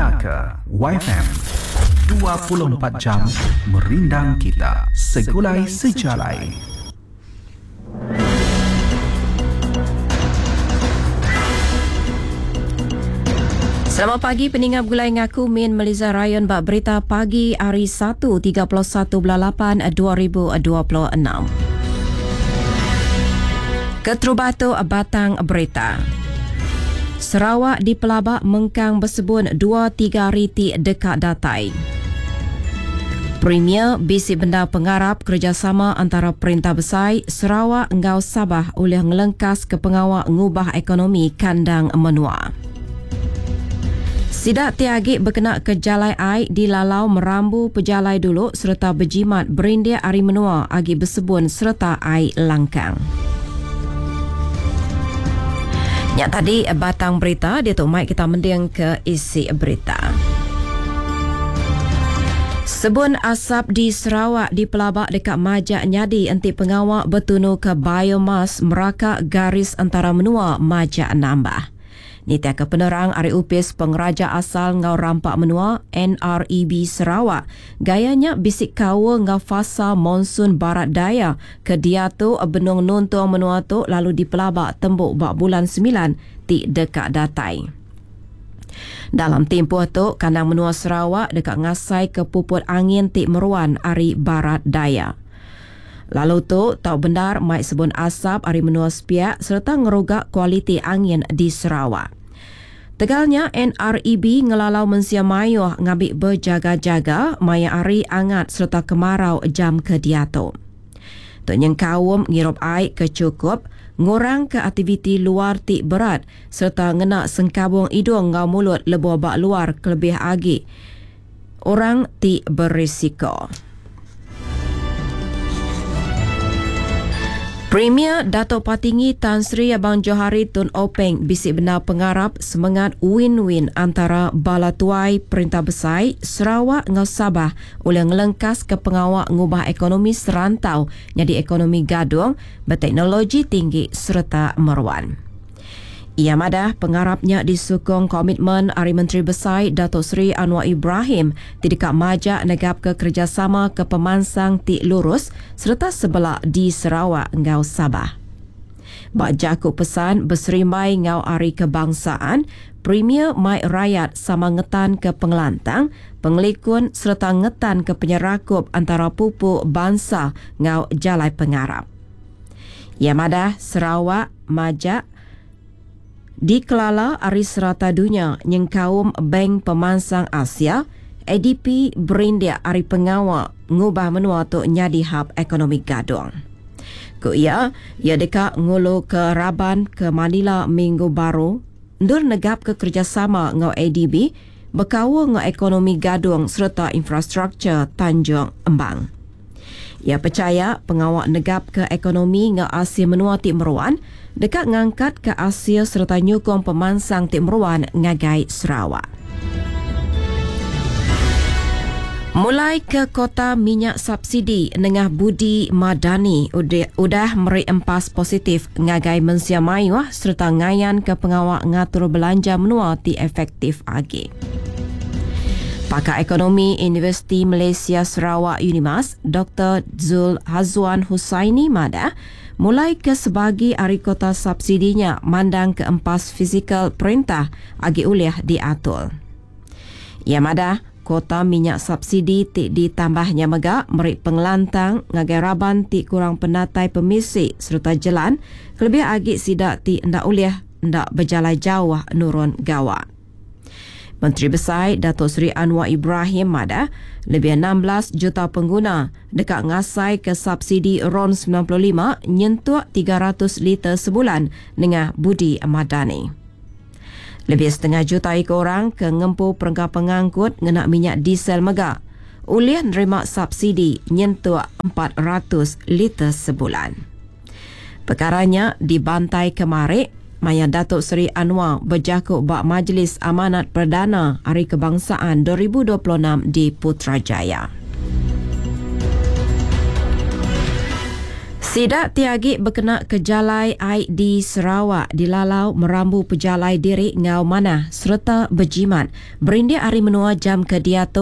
Dinga ke Waifm 24 jam merindang kita segulai sejalai. Selamat pagi peninga begulai ngaku Min Meliza Rayon ba berita pagi hari 1 31 bulan 8 2026. Keterubah tu batang berita. Sarawak dipelaba mengkang besebun 2-3 hari ti deka datai. Premier bisi bendar pengarap kerejasama antara Perintah Besai Sarawak enggau Sabah ulih ngelengkas ke pengawa ngubah ekonomi kandang menua. Sida ti agi bekena ke jalai ai dilalau merambu pejalai dulu sereta bejimat berindik ari menua agi besebun sereta ai langkang. Nya tadi batang berita diatu mai kita mending ke isi berita. Sebun asap di Sarawak dipelaba deka majak nyadi enti pengawa betunuka biomas meraka garis entara menua majak nambah. Nitihka penerang ari Opis Pengeraja Asal enggau Rampa Menua, NREB, Sarawak, gaya nya bisi kaul enggau fasa monsun barat daya ke diatu benung nuntung menua tu lalu dipelaba tembu ba bulan semilan ti deka datai. Dalam timpuh tu, kandang menua Sarawak deka ngasaika puput angin ti meruan ari barat daya. Lalu tu tau bendar mai sebun asap ari menua sepiak sereta ngeruga kualiti angin di Sarawak. Tegal nya, NREB ngelalau mensia mayuh ngambi bejaga-jaga maya hari angat sereta kemarau jam ke diatu. Tu nyengkaum ngirup ai ke chukup, ngurangka aktiviti luar ti berat sereta ngena sengkabung idung enggau mulut lebuh ba luar kelebih agi orang ti berisiko. Premier Datuk Patinggi Tan Sri Abang Johari Tun Openg bisi bendar pengarap semengat win-win antara bala tuai Perintah Besai Sarawak enggau Sabah ulih ngelengkaska pengawa ngubah ekonomi serantau nyadi ekonomi gadung beteknologi tinggi sereta meruan. Iya madah, pengarap nya disukung komitmen ari Menteri Besai Datuk Seri Anwar Ibrahim ti deka majak negapka kerejasama ke pemansang ti lurus sereta sebela di Sarawak enggau Sabah. Ba jaku pesan beserimbai enggau Hari Kebangsaan, Premier mai rayat sama ngetanka pengelantang, pengelikun sereta ngetanka penyerakup antara pupu bansa enggau jalai pengarap. Iya madah, Sarawak majak dikelala ari serata dunya nyengkaum Bank Pemansang Asia, ADP, berindik ari pengawa ngubah menua tu nyadi hab ekonomi gadung. Ku iya, iya deka nguluka raban ke Manila minggu baru endur negapka kerejasama enggau ADB bekaul enggau ekonomi gadung sereta infrastruktur Tanjung Embang. Iya pechaya pengawa negapka ekonomi enggau asil menua ti meruan deka ngangkatka asil sereta nyukung pemansang ti meruan ngagai Sarawak. Mulai ke kota minyak subsidi nengah Budi Madani udah meri empas positif ngagai mensia mayuh sereta ngayanka pengawa ngatur belanja menua ti efektif agi. Pakar Ekonomi Universiti Malaysia Sarawak Unimas, Doktor Zul Hazwan Husaini madah, mulai ke sebagi ari kota subsidi nya mandang ke empas fizikal perintah agi ulih diatur. Iya madah, kota minyak subsidi ti ditambah nya mega meri pengelantang ngagai raban ti kurang penatai pemisi sereta jelan kelebih agi sida ti enda ulih enda bejalai jauh nurun gawa. Menteri Besai Datuk Seri Anwar Ibrahim madah, lebih 16 juta pengguna deka ngasaika subsidi RON 95 nyentuk 300 liter sebulan nengah Budi Madani. Lebih setengah juta iku orang ke ngempu perengka pengangkut ngena minyak diesel mega ulih nerima subsidi nyentuk 400 liter sebulan. Pekara nya dibantai kemari maya Datuk Seri Anwar bejaku ba Majlis Amanat Perdana Hari Kebangsaan 2026 di Putrajaya. Sida ti agi bekena ke jalai ai di Sarawak dilalau merambu pejalai diri enggau manah sereta bejimat berindik ari menua jam ke diatu.